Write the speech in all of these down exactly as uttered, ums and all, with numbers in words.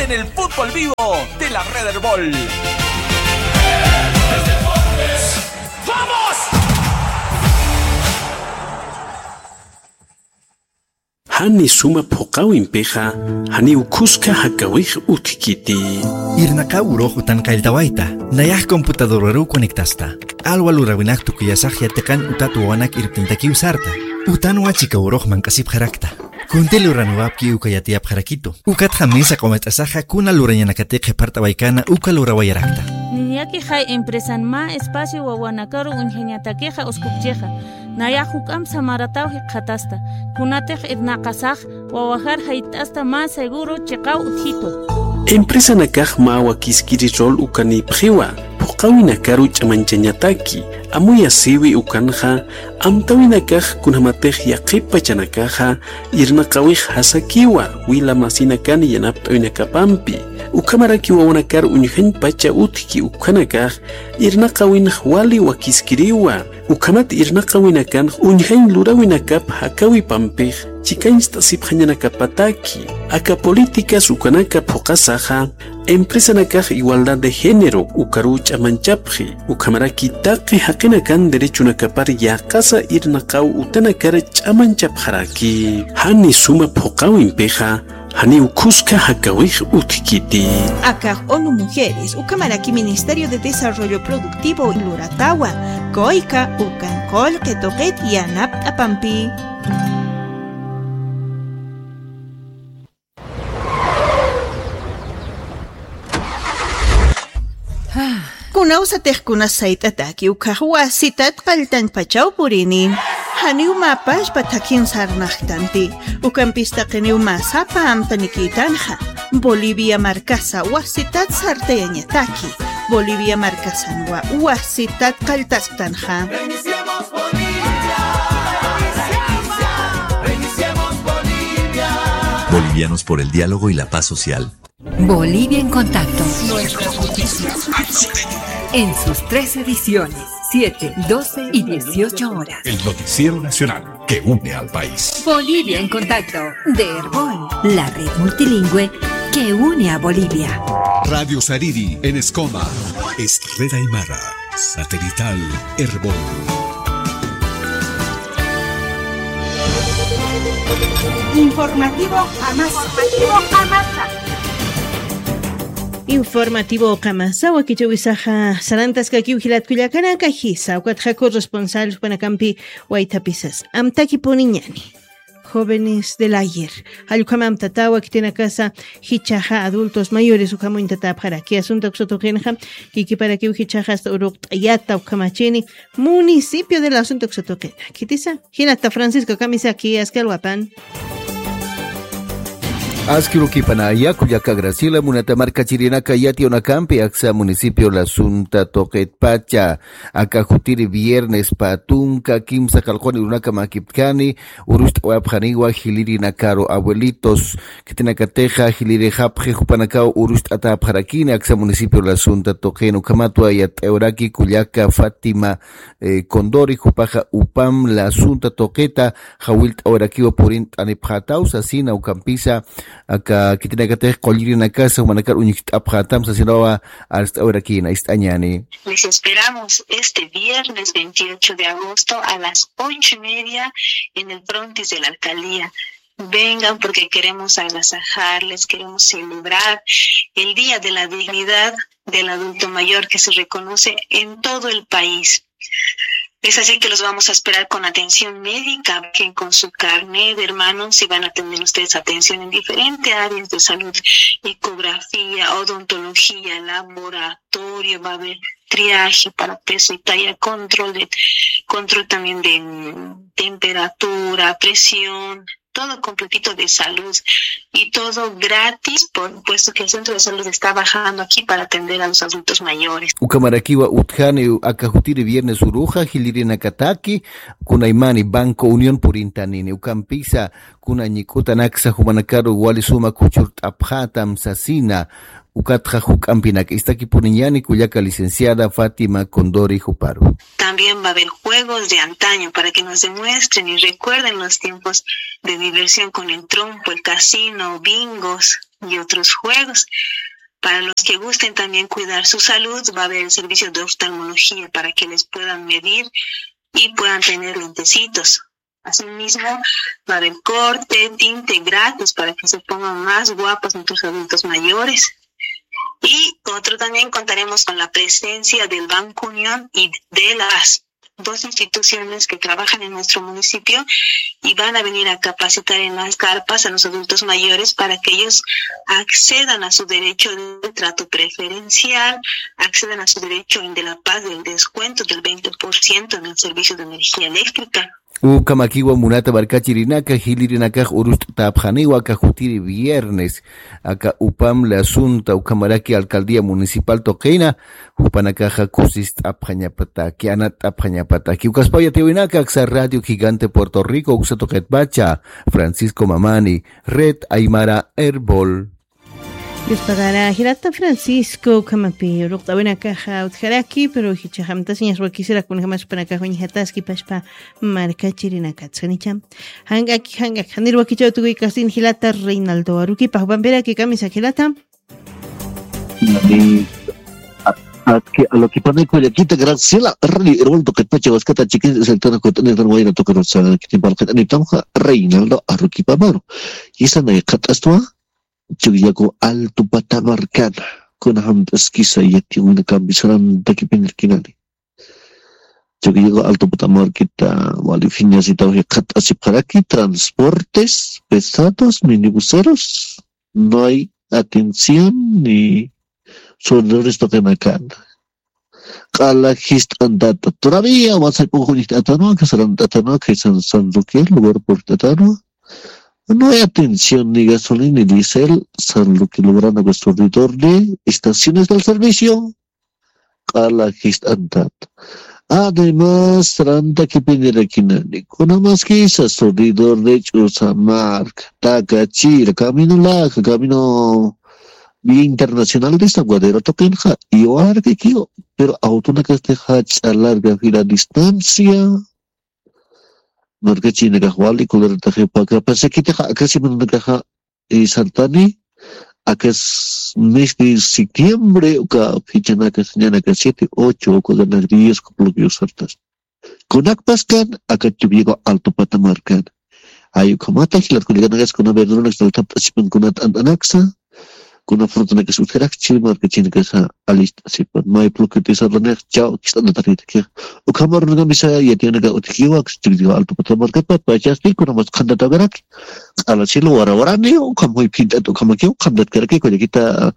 En el fútbol vivo de la Red Erbol. Jani suma phuqawimpixa, janiw khuska jakawix utjkiti. Irnaqaw urux utan qalltawayta, nayax computadoraruw conectasta. Alwa lurawinak tukuyasax yatiqan utat wawanak irptintakiw sarta. Utanwa chika urux manq'asipxarakta. Kunti luraniwapki uka yatiyapxarakitu. Ukatxa mesa q'umach'asaxa kuna lurañanakatix qhipart'awaykana uka lurawayarakta. Niñakixay empresan mä espacio wawanakaru uñjañatakixa uskupchixa. Nayax juk'amp samarataw jikxatasta. Kunatix irnaqasax wawajar jayt'asta mä seguro chiqaw utjitu. Empresanakax mä wakiskiri rol ukanïpxiwa, phuqawinakaru ch'amañchañataki, amuyasïwi ukanxa, amtawinakax kunjamatix yaqhip pachanakaxa, irnaqawix jasakiwa, wila masinakan yanapt'awinakapampi, ukhamaraki wawanakar uñjañ pacha utjki ukanakax, irnaqawinx wali wakiskiriwa, ukhamat irnaqawinakan uñjañ lurawinakap jakawipampix chikañcht'asipxañanakapataki. Aka políticas ukanaka phuqasaxa, empresanakax igualdad de género ukaruw ch'amañchapxi, ukhamaraki taqi jaqinakan derechonakapar yäqasa irnaqaw utanakar ch'amañchapxaraki. Jani suma phuqawimpixa, janiw khuska jakawix utjkiti. Akax ONU Mujeres, ukhamaraki Ministerio de Desarrollo Productivo luratawa, COICA, ukan qullqi tuqit yanapt'apampi. Kunawsatix kunas sayt'ataki ukhax wasitat qalltañpachaw purini. Janiw mä pachpa thakhin sarnaqtanti. Ukampis taqiniw mä sapa amtanikïtanxa. Bolivia markasa wasitat sartayañataki. Bolivia markasanwa wasitat qalltasktanxa. Bolivianos por el diálogo y la paz social. Bolivia en Contacto. Nuestras noticias. En sus tres ediciones, siete, doce y dieciocho horas. El noticiero nacional que une al país. Bolivia en Contacto, de Erbol, la red multilingüe que une a Bolivia. Radio Sariri en Escoma. Es red aymara. Satelital Erbol. Informativo Qamasa. Informativo Qamasa. Informativo Qamasa, wakichäwisaxa sarantaskakiw jilat kullakanaka, jisa, ukatxa corresponsal jupanakampi waythapisas. Amtakipuniñani. Jóvenes del ayer. Jall ukham amtatawa khitinakasa jichhaxa adultos mayores ukham uñtatäpxaraki. Asunto uksa tuqinxa, kikiparakiw jichhaxa hasta uruqt'ayata ukhamachini municipio del asunto uksa tuqina. Khitisa, jilata Francisco Kamisaki, aski alwapan. Aski urukipana, kullaka Graciela, munata markachirinaka yatiyawinakampi aksa municipio La Sunta tuqitpacha, aka jutiri viernespa tunka kimsa qallquni urunaka makiptkani, urucht'awayapxaniwa jilirinakaru abuelitos, khitinakatixa jilirixapxi jupanakaw urucht'atäpxarakini aksa municipio La Sunta tuqin, ukhamatwa yatt'ayawaraki kullaka Fátima, eh, Condori, jupaxa UPAM La Sunta tuqita jawillt'awayarakiwa purint'anipxätaw sasina, ukampisa aka khitinakatix qullirinakasa jumanakar uñucht'apxätam sasinawa arst'awayarakïna, ist'añäni. Les esperamos este viernes veintiocho de agosto a las ocho y media en el frontis de la alcaldía. Vengan porque queremos agasajarles, queremos celebrar el Día de la Dignidad del Adulto Mayor que se reconoce en todo el país. Es así que los vamos a esperar con atención médica, bajen con su carnet, hermanos, y van a tener ustedes atención en diferentes áreas de salud, ecografía, odontología, laboratorio, va a haber triaje para peso y talla, control de, control también de, mm, temperatura, presión, todo completito de salud y todo gratis, por, puesto que el centro de salud está bajando aquí para atender a los adultos mayores. Ukhamarakiwa utjani aka jutiri viernes uruxa jilirinakataki, kunaymani Banco Unión purintanini, ukampisa kuna ñik'utanaksa jumanakaru wali suma khuchurt'apxätam sasina, ukatxa juk'ampinak. Istakipuniñäni kullaka licenciada Fátima Condori juparu. También va a haber juegos de antaño para que nos demuestren y recuerden los tiempos de diversión con el trompo, el casino, bingos. y otros juegos. Para los que gusten también cuidar su salud, va a haber el servicio de oftalmología para que les puedan medir y puedan tener lentecitos. Asimismo, va a haber corte, tinte gratis para que se pongan más guapos nuestros adultos mayores. Y otro también contaremos con la presencia del Banco Unión y de las dos instituciones que trabajan en nuestro municipio y van a venir a capacitar en las carpas a los adultos mayores para que ellos accedan a su derecho de trato preferencial, accedan a su derecho en De La Paz del descuento del veinte por ciento en el servicio de energía eléctrica. Ukhamakiwa munata markachirinaka, jilirinakax urust'tapxaniwa aka jutiri viernes, aka upamle asunta ukhamaraki alcaldía municipal tuqina, jupanakaxa kusist'apxañapataki, anatt'apxañapataki. Ukaspaw yatiyawinaka aksa Radio Gigante Puerto Rico uksa tuqitpacha, Francisco Mamani, Red Aymara Erbol. Dios pagara jilata Francisco, ukhamapi ruqt'awinakaxa utjaraki, pero jichaxamtasiñas wakisirak kunjamax panakax wiñjataski pashpa markachirinakatskanicha. Jang'aki, jang'aki, janir wakichaw tukuykastin jilata Reinaldo Aruquipa, jupampiraki kamisa jilata. Ni atki a lo que pone kullakita Graciela, Radio Erbol tuqitpacha waskata chikin sector kut'anitan wayra tuqirutsa kitin palqit'anitamxa Reinaldo Aruquipa Maru. Isa nay qat'astwa. Chukiyaku Alto Pata markana, kuna hamt'askisa yatiwina kambisaran takipinirkinani. Chukiyaku Alto Pata markita wali phiñasitaw jikxatasipxaraki transportes pesados, minibuseros, no hay atención ni sonidones tuqinakana. Q'ala jist'antata. Todavía WhatsApp uka uñjt'atanwa, kasarant'atanwa, kaysan San Roque, lugar purt'atanwa. No hay atención ni gasolina ni diésel, San Roque logrando que surtidor de estaciones del servicio. Q'ala jist'antata. Además, ranta kipinirakinani. Kuna maskisa surtidor de Ch'usa marka, Takachira, camino laja, camino vía internacional de San Guadero tuqinxa, iwarkikiw, pero autonakastixa jach'a larga fila distancia. Markachinakax wali kularataxi paka pasakitixa akasimanakaxa, eh, sartani, akas mes de septiembre, uka fechanakas, ñanaka siete, ocho, uka ganak diez, uka bloqueo sartas. Kunak paskan, aka Chukiyaku Alto Pata markan. Ay, ukhamata jilat kullakanakas kuna verduranakas altapt'asipan kuna t'ant'anaksa, kuna frutanakas utjarakchi markachinakasa alist'asipan. May pluquitisa raniq chaw kist'anataritaki. Ukhamarunaka misa yatiyanaka utjiwak Chukiyaku Alto Pata markatpat pachasti kuna mas qhantatakarak. Q'ala cielo warawarani, ukham muy phint'at ukhamakiw qhantatkaraki kullakita.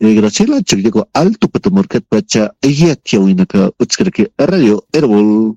Eh, Graciela, Chukiyaku Alto Pata markatpacha yatiyawinaka utjkaraki Radio Erbol.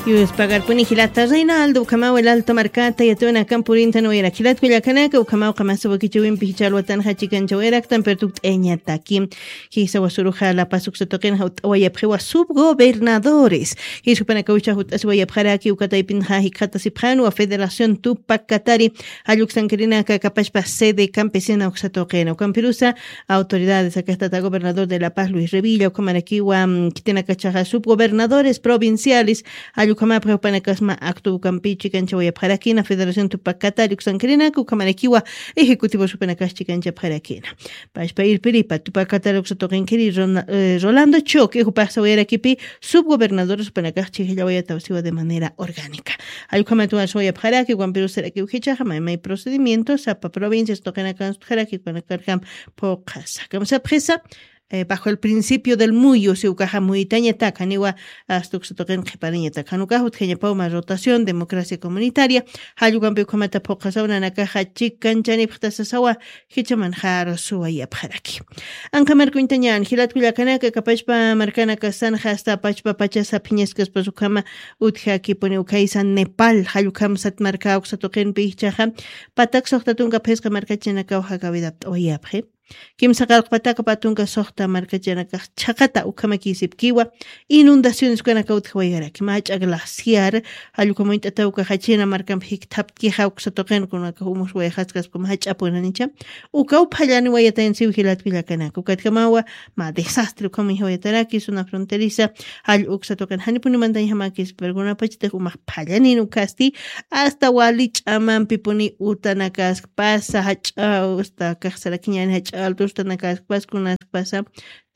Yuspagarpuni jilata Reinaldo, ukhamaw el Alto markata yatiyawinakan purintan wayrak. Jilat kullakanaka, ukhamaw qamasa wakichawimpi jichha alwatanxa chikanchawayaraktan, pero tukt'ayañataki. Jisa wasuruxa La Paz uksa tuqinxa ut'awayapxiwa subgobernadores. Jisa jupanaka ucha jut'asiwayapxaraki, uka taypinxa jikxatasipxanwa Federación Tupac Katari, jalluksankirinaka kapashpa sede campesina uksa tuqina. Ukampirusa autoridades, akax tata gobernador de La Paz, Luis Revilla, ukhamarakiwa, mm, khitinakachaxa subgobernadores provinciales, jallukhamapxi jupanakasma acto ukampi chikanchawayapxarakina, Federación Tupac Katari uksankirinaka, ukhamarakiwa ejecutivos jupanakas chikanchapxarakina. Pashpa irpiripa, Tupac Katari uksa tuqinkiri Rona-, eh, Rolando Choque, jupax sawayarakipi, subgobernadores jupanakax chhijllawayatawsiwa de manera orgánica. Jallukhamat wasawayapxaraki, ukampirusarakiw jichhaxa may may procedimiento, sapa provincias tuqinakan sutjaraki, ukanakarjam phuqhasa. Kamsapxisa, eh, bajo el principio del muyu, si ukaxa muyitañatak, janiwa, asta uksa tuqin qhipariñatak. Jan ukax utjañapaw mä rotación, democracia comunitaria, jallukampi ukhamata phuqhasaw nanakaxa chikanchanipxta sasawa, jichhamanxa arsuwayapxaraki. Anqa markuñtañan, jilat kullakanaka, kapashpa markanakasanxa, asta pachpa pachasa phiñaskaspas ukhama utjakipuni, ukhaysa Nepal, jallukham sat marka uksa tuqinpi jichhaxa, patak suxta tunka phisqa markachinakaw jakaw idapt'awayapxi. Kimsa qallqpataka patunka suxta markachanakax chhaqata ukhamakisipkiwa, inundaciones ukanaka utjawayarak, mach'a glaciar, jallukamañt'ata ukaxachina markampi jikthaptkixa uksa tuqin kunaka umuswayxaskaspa mach'apunanicha, ukaw phallani wayatayansiw jilatkullakanaka, ukatkamawa mä desastre ukhamañjawayataraki zona fronteriza, jall uksa tuqin janipuni mantañjamakispa, pero kunapachatix umax phallanin ukasti, hasta wali ch'amampipuni utanakaskpasa, jach'a, hasta kaxsarakiñani jach'a altustanakaskpas kunaskpasa,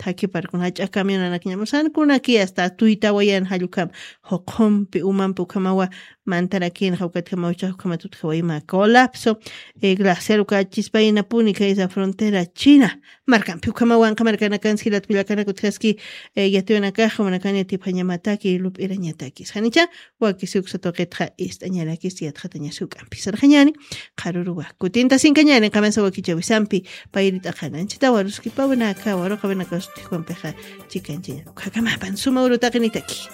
thakhiparkun jach'a camionanakñamusan kunaki hasta tuytawayan jallukam, juqhumpi umampi ukhamawa, mantarakin jawkatkamaw chaq ukhamat utjawayma colapso, eh, glaciar ukachispayinapuni kaysa frontera china markampi ukhamawan qamarkanakan silatkullakanakutjaski, eh, yatiwanakax umanakani tiphañamataki lup'irañatakis janicha, wakisi uksa tuqitxa ist'añarakis yatxatañasi uk'ampi sarxañani, qharuruwa kutintasinkañani qamasa wakichawisampi, payrit'aqananchita waruskipawanaka waruqawanakasutijwampixa, chikanchaña ukhakamapan suma urutaqinitaki.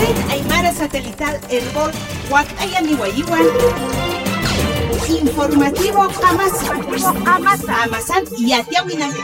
Red Aymara Satelital Erbol, wakt'ayaniwayiwan. Informativo qamasa. Qamasa. Qamasan yatiawinaka.